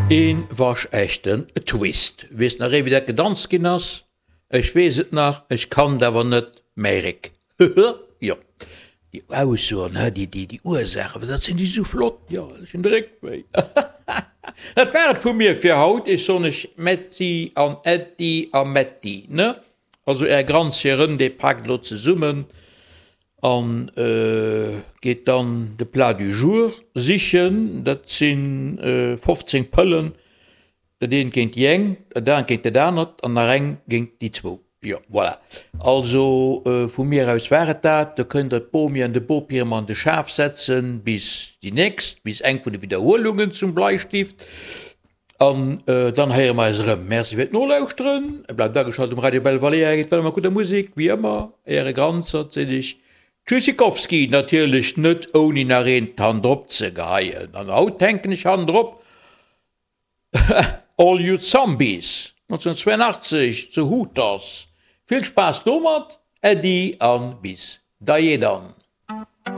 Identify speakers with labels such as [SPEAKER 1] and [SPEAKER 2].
[SPEAKER 1] Een waschechten Twist. Weess nach ee wéi dat gedanzt ginn ass? Ech weess et nach, ech kann et awer net mäi Réck. Jo, déi Aussoen, he, déi, déi, déi Ursaachen, dat sinn déi sou flott, jo, ech hunn de Réck wéi. Dat war et vu mir fir haut. Ech soen iech Metti an Äddi a Metti, ne? Also är Grandsirën, déi paakt elo zesummen an geet dann de Plat du jour sichen. Dat si 15 Pëllen, Dat eent géint déi eng, dat anert géint dat anert an nach eng géint déi zwou. Jo, voilà. Also vu mir aus war et dat. Do kënnt Der d'Bomi an de Bopi erëm an de Schaf setzen bis déi nächst, bis eng vun de Widderhuelungen zum Bleistift. An dann héiere mer eis erëm. Merci fir d'Nolauschteren. Bleift ageschalt um Radio Belvalea. Geet weider mat gudder Musek, wéi ëmmer. Äre Granzert seet Iech Tschüssikowski, natierlech net ouni nach eent hannendrop ze geheien. An haut hänken ech hannendrop All You Zombies, 1982 zu Hooters. Vill Spaass domat, Äddi an bis dajee dann.